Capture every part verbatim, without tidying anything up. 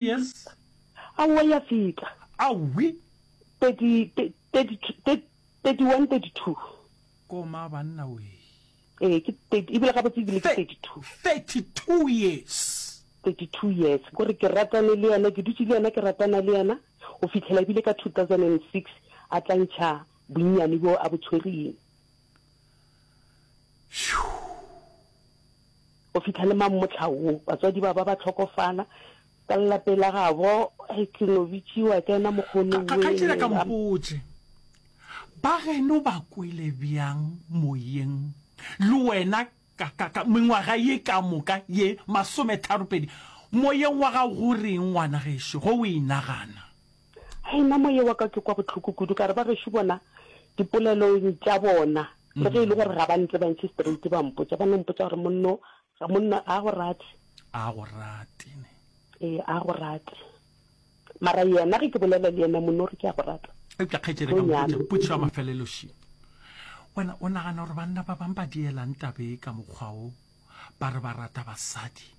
Years? Aowa ya feta. Aowi. Thirty, thirty, thirty one, thirty two. Koma banna wee. Ee, ke thirty, ebile gabotse ebile ke thirty two. Thirty two years. Thirty two years. Kore ke ratane le yena, ke dutše le yena, ke ratana le yena, go fihlela ebile ka two thousand and six a tla ntšha bonnyane bjo a bo tshwereng. Go fihla le mammohla wo, batswadi ba ba ba hlokofala, ka lelapeng la gabo, hei, ke no bitšiwa ke ena mokgone Ka, kgaetšedi a ka mpotše, ba geno ba kwele bjang moyeng le wena ka, ka, ka mengwaga ye ka moka ye masometharo-pedi? Moyeng wa gago go reng, ngwana gešo, ge o e nagana? Hei, nna moya wa ka ke kwa bohloko kudu, ka re ba gešo bona dipolelong tša bona, le ge e le gore ga ba ntsebantšhe straight ba mpotša, ba no mpotša gore monno, ga monna a go rate. A go rate, ne. Ee, a go rate. Mara yena ge ke bolela le yena monno o re ke a go rata. Eupša kgaetšedi ka mpotše potšišo ya mafelelo še. Wena o nagana gore banna ba bang ba dielang taba e ka mokgwa wo ba re ba rata basadi?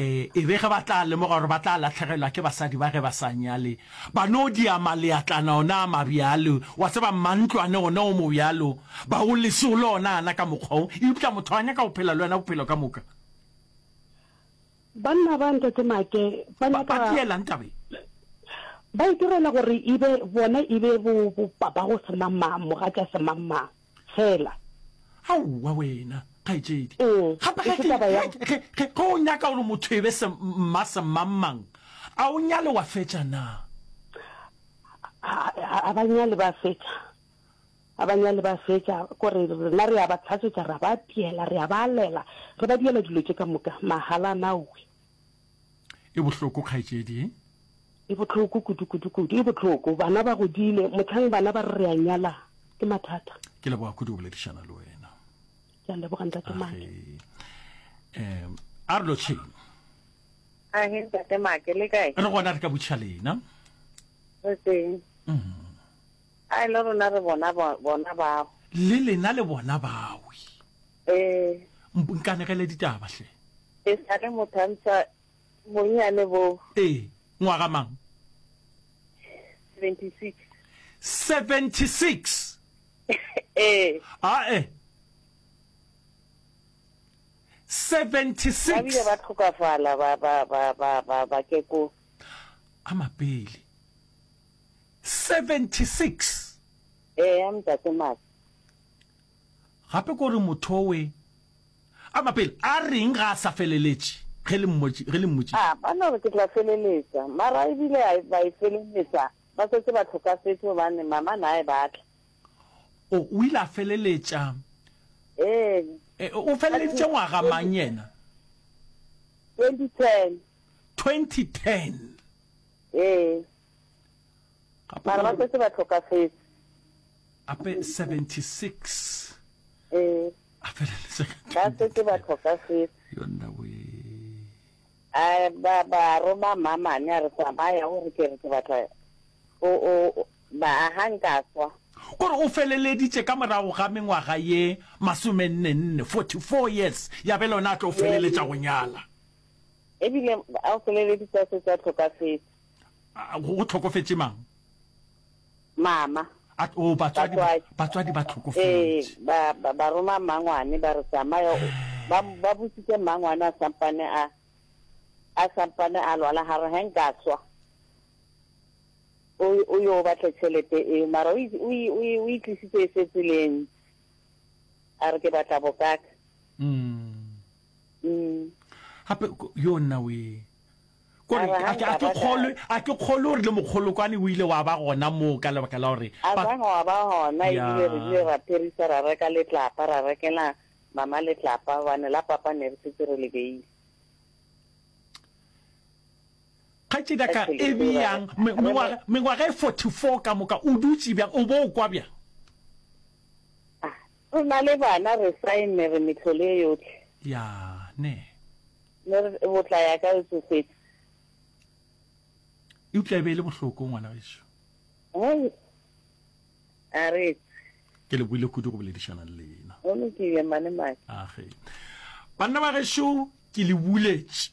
E, e be ge ba tla lemoga gore ba tla lahlegelwa ke basadi ba ge ba sa nyale, ba no dia maleatlana ona a mabjalo, wa tseba, mmantlwane ona o mobjalo, ba o lese o le ona ana ka mokgwa wo, eupša motho a nyaka go phela le wena bophelo ka moka. Banna ba, Ntate Make, ba Ba, nyaka. ba dielang taba ye? Ba itirela gore e be bona e be bo, bo papago semangmang, mogatša semangmang, fela. Aowa wena, kgaetšedi. Ee, Gape e ge se ke, taba ya. ge, ge, ge, ge o nyaka gore motho e be se, mma semangmang, a o nyale wa fetša na? A, a, a ba nyale ba fetša. A ba nyale ba fetša. Kore rena re a ba hlatswetša, ra ba apeela, re a ba alela, re ba diela dilo tše ka moka, mahala naowe. E bohloko, kgaetšedi. E bohloko kudu, kudu, kudu. E bohloko. Bana ba godile. Mohlang bana ba re re a nyala, ke mathata. Ke leboga kudu go boledišana le wena. Ke a leboga, Ntate Make. Age. Um, a re lotšheng. Age, Ntate Make, le kae? Re gona re ka botšiša lena. Re teng. Mm. A le rona re bona bona bao. Le lena le bona bawe. Ee. Nkanegele ditaba hle. E sa le motho a ntšha bonnyane bo. Ee, ngwaga mang? Seventy-six. Seventy-six? Ee. Ae. Seventy-six. Ba bile ba tlhokafala ba ba ba ba ba ba keko. A mapele. Seventy-six. Ee, a Ntate Maka. Gape ko re motho we a mapele a reng ga a sa feleletše ge le mmotši ge le mmotšiša. A ba no re ke tla feleletša mara ebile a ba e feleletša ba setse ba hlokafetše gobane mama na e batla. O o ile a feleletša. Ee. E, o feleleditše ngwaga mang yena? Twenty ten. Twenty ten. Ee. Mara ba setse ba hlokafetše. Ape seventy six. Ee. A feleletša ka Ba setse ba hlokafetše. Yonna we. A ba ba roma mmamane a re tsamaya o re ke re ke batla o o ba ha nka swa. Kore o feleleditše ka morago ga mengwaga ye masomenne nne, forty four years, ya be lona a tlo feleletša go nyala. Ebile a o feleleditše a setse a hlokafetše. Go hlokofetše mang? Mama. A, oh, batswadi, batswadi ba hlokofetše. Ee, ba, ba, ba roma mmangwane, ba re tsamaya, ba, ba botsitse mmangwane a sampane a, a sampane a lwala, ga re ge nka swa, o, o yo batle tšhelete eo, mara o, o, o, o e tlisitse e setse le e ntsi, a re ke batla bokaka. Mm. Mm. Gape, yo nna we. Kore, a ke, a ke kgolwe, a ke kgolwe gore le mokgolokwane o ile wa ba gona moo ka lebaka la gore A ba. zanga wa ba gona, ebile re ile Ya. ra pherisa ra reka letlapa, ra rekela mama letlapa, gobane la papa ne re setse re le beile. Kgaetšedi ya Ka ka, tšhelete e eo ra bjang, reka. me, Re mengwaga, mengwaga e forty-four ka moka, o dutše bjang, o bo o kwa bjang? Ah, re na le bana, re saenne, re mehlolo ye yohle. Ya, ne. Ne re, Botla ya ka e tsofetše. Eupša e be e le bohloko, ngwana gešo. Hei, a re tswe. Ke lebohile kudu go boledišana le lena. Go lokile, Mane Make. Age. Banna ba gešo, ke le buletše.